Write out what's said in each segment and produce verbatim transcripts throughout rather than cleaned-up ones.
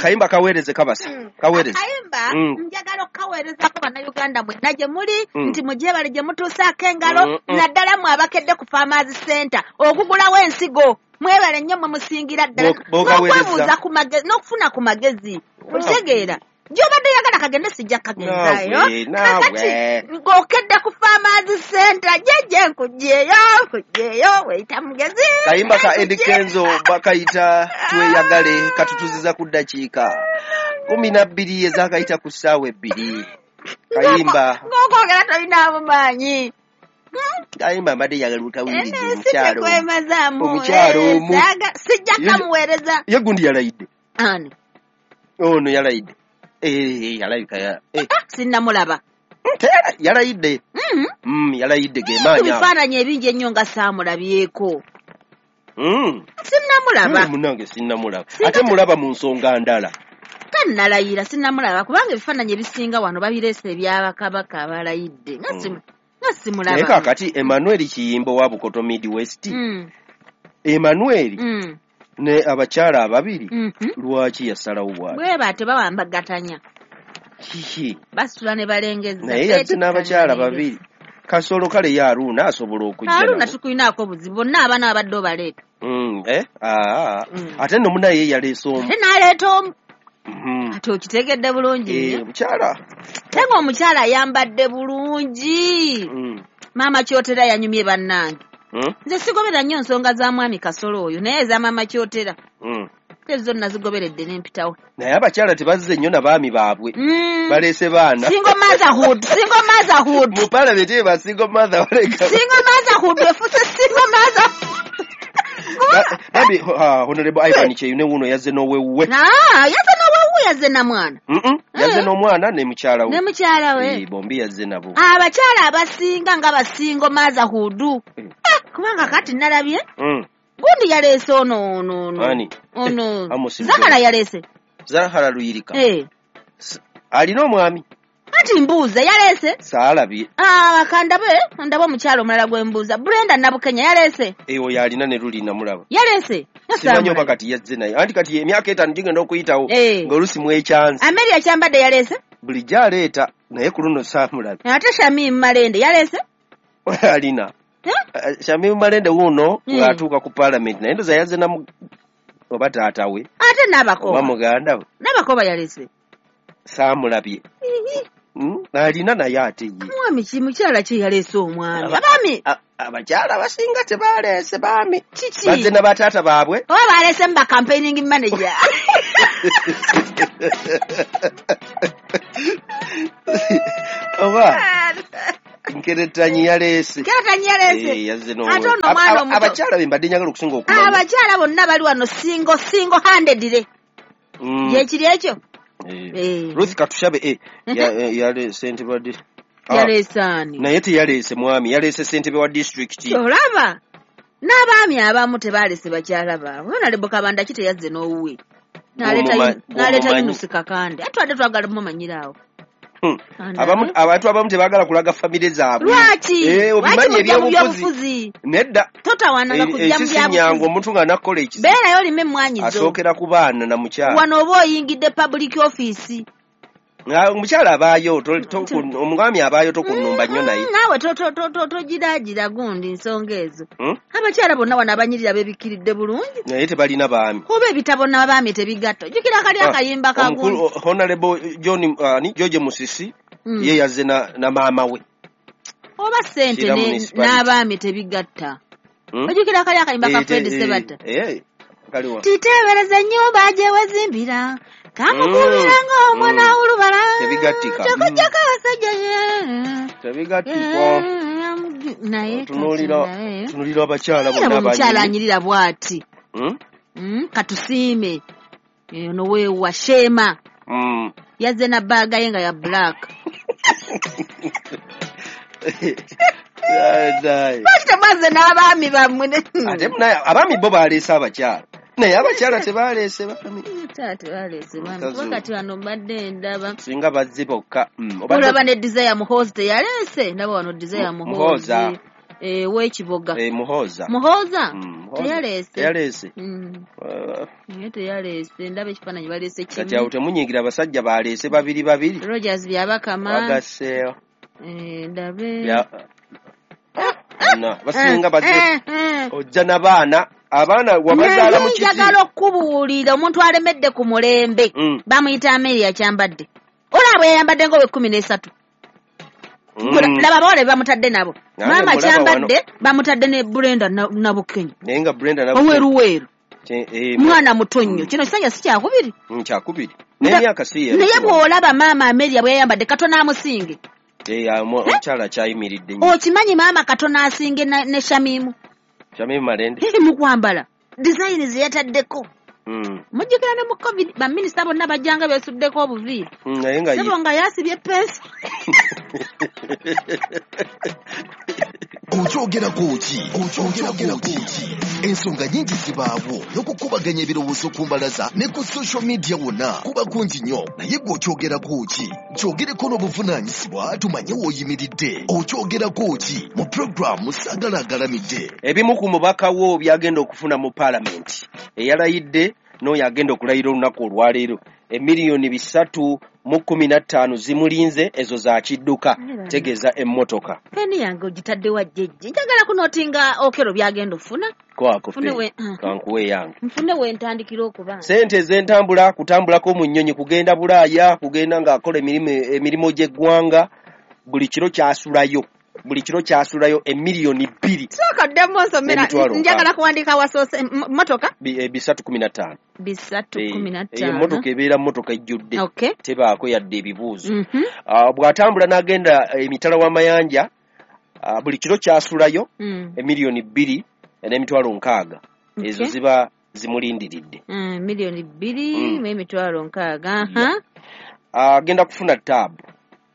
Akayimba kaweereze kabasa. Kaweereze. Akayimba Mm. njagala okukaweerezako Bannayuganda mwenna gye muli Mm. nti mugyebale gye mutuusaako engalo Mm, mm. naddala mwe abakedde ku Farmers Center okugulawo ensigo. Mwebale nnyo mwe musingira ddala B'o- b'okaweereza. n'okwebuuza ku magezi n'okufuna ku magezi. Okitegeera? Gy'obadde oyagala kagende sijja kukagenzaayo. Naawe, naawe. Kakati ng'okedde ku Farmers Center jjajja nkugyeyo nkugyeyo weyita mugezi. Kayimba ka Eddy Nkugyeyo. Kenzo bakayita Tweyagale, katutuziza ku ddakiika kumi na bbiri ezaakayita ku ssaawa ebbiri. Kayimba Ng'okwogera tolinaamu maanyi. Kayimba mbadde njagala okawuliriza Eh, omukyalo omu. Sikwemazaamu. Omukyalo Eh, omu. saaga- sijja Ye- kamuweereza. Ye gundi yalayidde. Ani? Ono yalayidde. Eh, yalabika ya eh, Ah, sinnamulaba. teyala- yalayidde. Mhm. Mm, yalayidde ge Ku maanyi ago. bifaananyi ebingi ennyo nga saamulabyeko. Mm. Sinnamulaba. Mm, munnange sinnamulaba. Singa Ate te- mulaba mu nsonga ndala. Tannalayira sinnamulaba kubanga ebifaananyi ebisinga wano babireese ebyabakabaka abalayidde. Nga simu- nga simulaba. Naye kaakati Emmanuel Kiyimba owa Bukoto Midwest. Mm, Emmanuel mm, ne abakyala ababiri mhm. lwaki yasalawo bw'atyo? Bwe batyo bawambagatanya. Kiki? Basitula ne balengezza. Naye yazze n'abakyala babiri. Kasolo kale ye Haruna asobola okujja Haruna nabo. tukulinaako obuzibu bonna abaana babadde obaleeta. Mm, eh? Ah, Mm. ate nno munnaye ye yaleese omu. Ate n'aleeta omu. Mhm. Ate okitegedde bulungi Eh, nnyo. omukyala. Ate ng'omukyala ayambadde bulungi. Mm. Maama Kyotera yanyumye bannange. Mm? Nze sigoberera nnyo nsonga za mwami Kasolo oyo naye eza maama Kyotera. Mm. Ezo zonna zigoberedde ne mpitawo. Naye abakyala tebazze nnyo na baami baabwe. Mm. Baleese baana. Single motherhood, single motherhood. Mu parliament ye ba single mother baleka. Single motherhood efuse single mother. Ba- Babi ah, Honorable Ivan Kyeyune wuno yazze n'owewuwe. Ah, yazze n'owewuwe yazze na mwana. Mm-mm. Yazze Eh. n'omwana ne mukyala we. Ne mukyala we. Eh, bombi yazze nabo. Abakyala abasinga nga ba single motherhood. Mm. Ah, kubanga kati nalabye Mm. gundi yaleese ono ono ono. Ani? Ono. Eh, Amos Zahara Mugema. yaleese. Zahara Luyirika. Eh. Alina omwami. Anti mbuuza yaleese. Saalabye. Ah, kandabe ndabe omukyala omulala gwe mbuuza. Brenda Nabukenya yaleese. Eh, oyo alina ne luli namulaba. Yaleese. Simanyi oba kati yazze naye. Anti kati emyaka etaano gigenda okuyitawo Eh. ng'oluusi mwekyanze. Amelia Kyambadde yaleese. Bulijjo aleeta naye ku luno saamulabye. Ate Shamim Malende yaleese. Alina. Eh? Eh, Shamim Malende wuuno Mm. ng'atuuka ku parliament naye ndoza yazze na mu- oba taata we Ate oba Nabakoba. muganda we Nabakoba yaleese. saamulabye. Mm, alina naye ate ye. Mwami ki mukyala ki yaleese omwami? Aba- Abaami A- Abakyala abasinga tebaleese baami. kiki? Bazze na bataata baabwe. Oba baleese mu ba campaigning manager. Oba Nkeretanyi yaleese. Nkeretanyi yaleese. Eh, yazze n'owe. Ate ono Ab- omwana ab- omuto. Abakyala be mbadde njagala okusinga okumanya. Abakyala bonna bali wano single single handedly. Mm. Gyekiri ekyo? Eh. Eh. Ruth Katushabe eh, ya- eh, yaleese ssentebe wa di- Ah, Yaleese ani? naye teyaleese mwami yaleese ssentebe wa disitulikiti. Olaba n'abaami abamu tebaleese bakyala baabwe. Honorable Kabanda ki teyazze n'owuwe. N'aleeta Gw'omuma- Yun- n'aleeta gw'omumanyi. Yunus Kakande. Ate twabadde twagala mumanyiraawo. Hmm. Anda- Abamu abantu abamu tebaagala kulaga famire zaabwe. Lwaki? Eh, Lwaki obimanyi mujja mu ebyobufuzi. byobufuzi? Nedda. Totawaananga kujja mu Ensi si nnyangu byabufuzi. omuntu ng'anakkola ekizibu Beerayo olime emmwanyi zo. asookera ku baana na mukyala. Wano oba oyingidde public office. Nga omukyala abaayo to- to- omwami abaayo tokunnumba nnyo naye. Mm, Naawe to- to- to- to- togiraagira gundi nsonga ezo. Hmm? Abakyala bonna wano abanyirira beebikkiridde bulungi. Naye tebalina baami. Oba ebitabo n'abaami tebigatta. Ojjukira kali Ah, akayimba ka Omukulu gundi. Honorable John ani George Musisi Mm. ye yazze na, na maama we. Oba ssente Kira ne- municipality. n'abaami tebigatta. Hmm? Ojjukira kali akayimba ka Eh, Fred te- eh, Sebatta. eh, kaliwa. Titeebereza ennyumba gye wezimbira. Kamukubira Mm. ng'omwana Mm. w'olubala. Tebigattika. Tekujjako abasajja ye. Tebigattikwa. Naye Tunuulira kati naye. tunuulira abakyala Era bonna omukyala abanyirira. anyirira bw'ati. Hmm? Mm, katusiime. Ono weewa Sheema. Mm. Yazze na bbaaga ye nga ya black. Dai. Lwaki temwazze n'abaami bammwe ne- Ate munaye abaami bo baleese abakyala. Naye abakyala tebaleese baami. Taata tebaleese baami. Mukazi Kuba kati wano mbadde ndaba. Singa bazze bokka. Mm. Obadde Olaba ne Desire Muhoozi teyaleese. Ndaba wano Desire Mu- Muhoozi. Muhooza. Eh, w'ekiboga. Eh, Muhooza. Muhooza? Mm, Muhooza. Teyaleese. Teyaleese. Mm. Uh, Naye teyaleese, ndaba ekifaananyi baleese kimu. Kati awo temunyingira abasajja baleese babiri babiri. Rogers Byabakama. Wagaseewo. Eh, ndabe. Bya... Na, basinga bazze. Eh, eh. Ojja n'abaana, abaana wabazaala mu kiti. Njagala okubuulira omuntu alemedde ku mulembe. Mm. Bamuyita Amelia Kyambadde. Olaba yayambadde ng'ow'ekkumi n'esatu. Mm. Laba abawala be bamutadde nabo. Nange Maama mulaba Kyambadde wano. bamutadde ne Brenda Nabukenya. Naye nga Brenda Nabukenya. Oweruweru. Eh, Mwana muto nnyo. Kino kisanja si kyakubiri. Mm, kyakubiri. N'emyaka si ye. Naye bw'olaba maama Amelia bwe yayambadde katono amusinge. Eh, omukyala akyayimiridde nnyo. Okimanyi maama katono asinge ne Shamimu. Shamimu Malende. Eri mu kwambala. Design ze yataddeko. Mm. Mujjukira ne mu COVID baminisita bonna bajjanga beesuddeko obuviiri. Mm, naye nga Sebo nga yasibye pensi. Okyogerako ki? Okyogerako ki? Ensonga nnyingi zibaawo n'okukubaganya ebirowoozo ku mbalaza ne ku social media wonna kuba kungi nnyo. Naye gwe okyogerako ki? Kyogereko n'obuvunaanyizibwa tumanye w'oyimiridde. Okyogerako ki? Mu pulogulaamu Saagala Agalamidde. Ebimu ku mubaka wo byagenda okufuna mu paalamenti eyalayidde n'oyo agenda okulayira olunaku olwaleero emiliyoni bisatu mu kkumi na ttaano zimulinze ezo za kidduka tegeeza emmotoka. Peni yange ogitadde wa jjejje. Njagala kunootinga Okello byagenda okufuna. Kwako Nfune we kankuwe yange. Nfune we ntandikira okuba. Ssente ez'entambula kutambulako mu nnyonyi kugenda Bulaaya kugenda ng'akola emirimu emirimu gy'eggwanga buli kiro kyasulayo. Buli kiro kyasulayo emiliyoni bbiri. Sooka ddemu nsomera njagala kuwandiika wasoose mmotoka bisatu kumi na ttaano. Bisatu kumi na ttaano. Emmotoka ebeera mmotoka ejjudde. Okay. Tebaako yadde ebibuuzo. Mm -hmm. Uh, bw'atambula n'agenda emitala w'amayanja uh, buli kiro kyasulayo mm. emiliyoni bbiri n'emitwalo nkaaga. Okay. Ezo ziba zimulindiridde. Mm, miliyoni bbiri mm. n'emitwalo nkaaga. Agenda uh, kufuna taabu.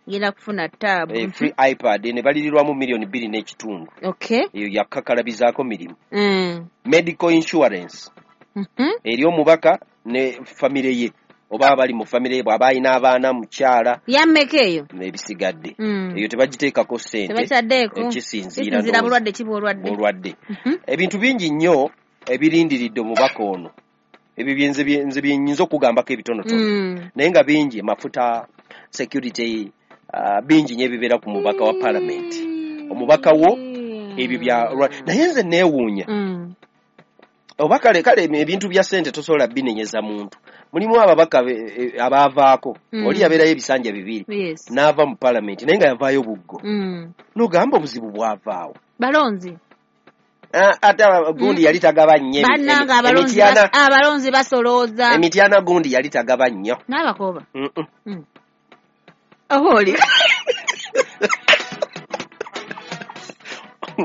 Ngenda kufuna taabu. Eh, free iPad ne balirirwamu miliyoni bbiri n'ekitundu. Okay. Eyo yakakalabizaako mirimu. Mm. Medical insurance. Mm -hmm. Eri omubaka ne famire ye oba abali mu famire ye bw'aba alina abaana mukyala. Yammeka eyo? Ebisigadde. Mm. Eyo tebagiteekako ssente. Tebakyaddeko. Kisinziira Kisinziira bulwadde ki bw'olwadde. Bulwadde. Mm -hmm. Ebintu bingi nnyo ebirindiridde omubaka ono. Ebyo byenze nze byenyinza okugambako ebitonotono. Mm. Naye nga bingi mafuta, security, Uh, bingi nnyo ebibeera ku mubaka wa paalamenti. Omubaka wo ebyo bya naye nze neewuunya. Mm. Oba kale kale ebintu bya ssente tosobola binenyeza muntu. Mulimu ababaka abaavaako. Mm. Oli yabeerayo ebisanja bibiri. Yes. N'ava mu paalamenti naye nga yavaayo buggo. Mm. N'ogamba obuzibu bwavaawo. Balonzi. Ah, ate gundi mm. yali tagaba nnyo. Bannange abalonzi abalonzi basolooza. Emityana gundi yali tagaba nnyo. N'abakoba. Mm -mm. Mm. Oba oli.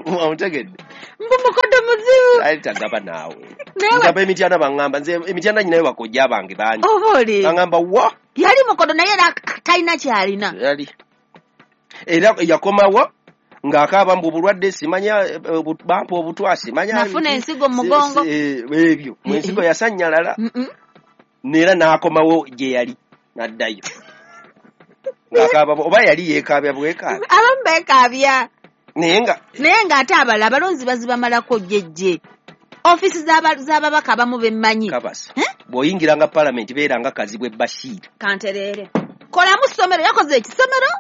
Omutegedde. Mbu mukodo muzibu. Ali tagaba naawe. Nzaba emityana baŋŋamba nze emityana nyinayo bakojja bange bangi. Oba oli. Baŋŋamba wa. Yali mukodo naye era talina kyalina. Yali. Era yakomawo ng'akaaba mbu obulwadde simanya bampa obutwa simanya. Nafuna ensigo mu mugongo. Ebyo. Mu ensigo yasannyalala. Neera n'akomawo gye yali n'addayo. Ng'akaaba oba yali yeekaabya bwekaabya. Abamu beekaabya. Naye nga naye ng'ate abalala abalonzi bazibamalako jjejje. Ofiisi z'ababaka abamu bemmanyi. Kabasa. Bw'oyingiranga paalamenti beeranga Kazibwe Bashir. Kantereere. Kolamu ssomero yakoze ekisomero?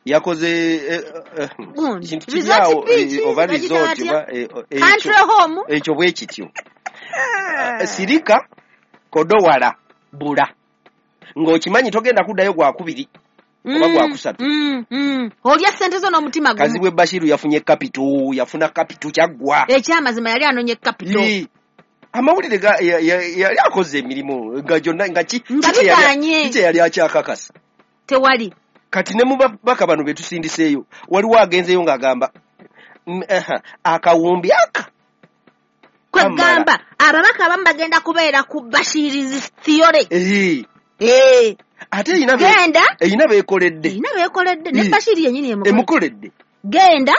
Yakoze kintu kiryawo oba resort oba country home. Ekyo bwe kityo. Sirika kodowala bula. Ng'okimanyi togenda kuddayo gwakubiri. Oba Mm, gwakusatu. mm, mm. Olya ssente zo n'omutima gumu. Kazibwe Bashiru yafunye capital, yafuna capital kyaggwa. Ekyamazima yali anonye capital. Amawulire yali akoze emirimu nga gyonna nga ki Nga bigaanye. kye yali akyakakasa. Tewali. Kati ne mu babaka bano be tusindiseeyo waliwo agenzeeyo ng'agamba akawumbi aka. Kwegamba ababaka abamu bagenda kubeera ku Bashiri's theory. Eh. Eh. Ate erina Genda. Erina beekoledde. Erina beekoledde. Ne Bashiri yennyini emukoledde. Genda.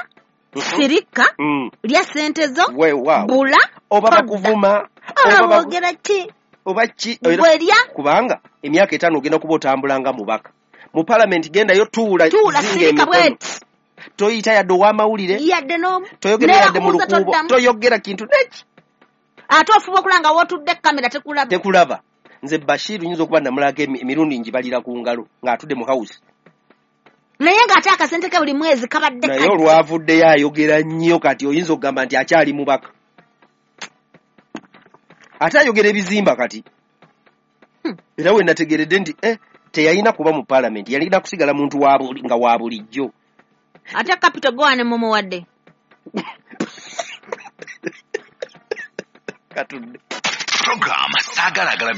Sirika. Mm. Lya ssente zo. Weewaawo. Bula. Oba bakuvuma. Oba boogera ki? Oba ki? Bwerya. Kubanga emyaka etaano ogenda kuba otambula nga mubaka. Mu paalamenti gendayo tuula. Tuula sirika bweti. Toyita yadde ow'amawulire, yadde n'omu, toyogera yadde mu Nebakubuuza lukuubo, toddamu. Toyogera kintu neki. Ate ofuba okulaba nga wootudde kamera tekulaba. Tekulaba. Nze Bashiru nyinza okuba namulako emi- emirundi ngibalira ku ngalo ng'atudde mu house. Naye ng'ate akasente ke buli mwezi kabadde Naye kajja. olwavuddeyo ayogera nnyo, kati oyinza okugamba nti akyali mubaka, ate ayogera ebizimba kati. Hmm. Era we nategeredde nti eh, teyalina kuba mu paalamenti, yalina kusigala muntu wa buli- nga wa bulijjo. Ate kapito gowane mumuwadde. Katudde. Program Saagalagala.